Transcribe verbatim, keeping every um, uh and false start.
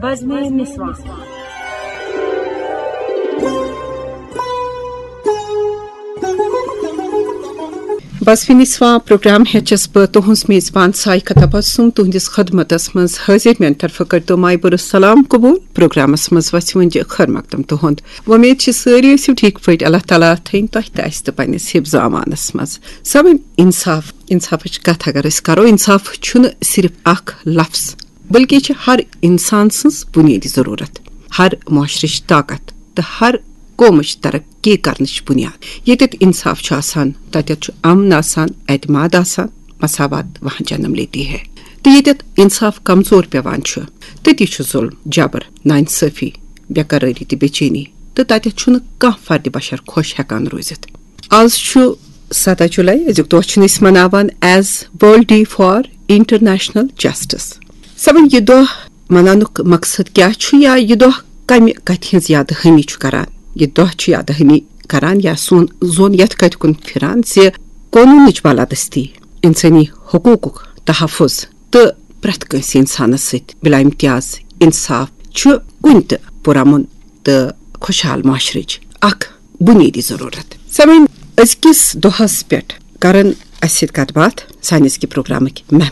بزمِ نسواں۔ بزمِ نسواں programme ہیٚچھس بہٕ تُہنٛز میزبان سائقہ تبسم تُہنٛدِس خدمتس منٛز حٲضِر۔ میانہِ طرفہٕ کٔرتو مایہِ بھرٕ سلام قبول۔ پروگرامس منٛز وژھِ وۄنۍ خٲر مقدم تُہنٛد۔ وۄمید چھِ سٲری ٲسِو ٹھیٖک پٲٹھۍ۔ اللہ تعالیٰ تھٲیِن تۄہہِ تہٕ اسہِ تہٕ پننِس حفظ امانس منٛز۔ سوٕنۍ انصاف، انصافٕچ کتھ اگر أسۍ کرو، انصاف چھُنہٕ صرف اکھ لفظ، بلکہِ چھِ ہر انسان سٕنٛز بُنیٲدی ضروٗرت، ہر معاشرٕچ طاقت تہٕ ہر قومٕچ ترقی کرنٕچ بُنیاد۔ ییٚتٮ۪تھ انصاف چھُ آسان، تتٮ۪تھ چھُ امن آسان، اعتماد آسان، مساوات وہاں جنم لیتی ہے۔ تہٕ ییٚتٮ۪تھ انصاف کمزور پیوان چھُ، تٔتی چھُ ظلم، جبر، ناانصٲفی، بے قرٲری تہٕ بے چینی، تہٕ تتٮ۪تھ چھُنہٕ کانٛہہ فرد بشر خۄش ہٮ۪کان روٗزِتھ۔ آز چھُ ستھ جولائی، أزیُک دۄہ چھِن أسۍ مناوان as World Day for International Justice۔ سوٕنۍ یہِ دۄہ مناونُک مقصد کیٛاہ چھُ یا یہِ دۄہ کمہِ کتھِ ہٕنٛز یاد دہانی چھُ کران؟ یہِ دۄہ چھُ یاد دہانی کران یا سون ظۄن یتھ کتھِ کُن پھران زِ قونوٗنٕچ بالادستی، انسٲنی حقوٗقُک تحفظ تہٕ پرٛٮ۪تھ کٲنٛسہِ انسانس سۭتۍ بلا امتیاز انصاف چھُ کُنہِ تہِ پُرامن تہٕ خۄشحال معاشرٕچ اکھ بُنیٲدی ضروٗرت۔ سوٕنۍ أزکِس دۄہس پٮ۪ٹھ کرن اسہِ سۭتۍ کتھ باتھ سانہِ أزکہِ پروگرامٕکۍ مہمان۔